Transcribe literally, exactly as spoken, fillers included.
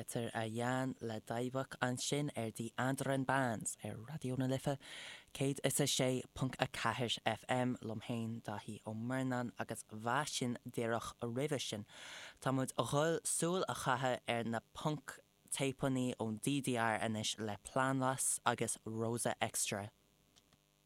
Peter a Jan le Daibach ansin ar Die Anderen Bands ar Raidió na Life céad is a sé ponc a ceathair FM liom féin Daithí Ó Murnáin agus bha sin díreach roimhe sin. Tá muid a dhul súil a chaitheamh ar na punk téipeanna ón DDR anois le Planlos agus Rosa Extra.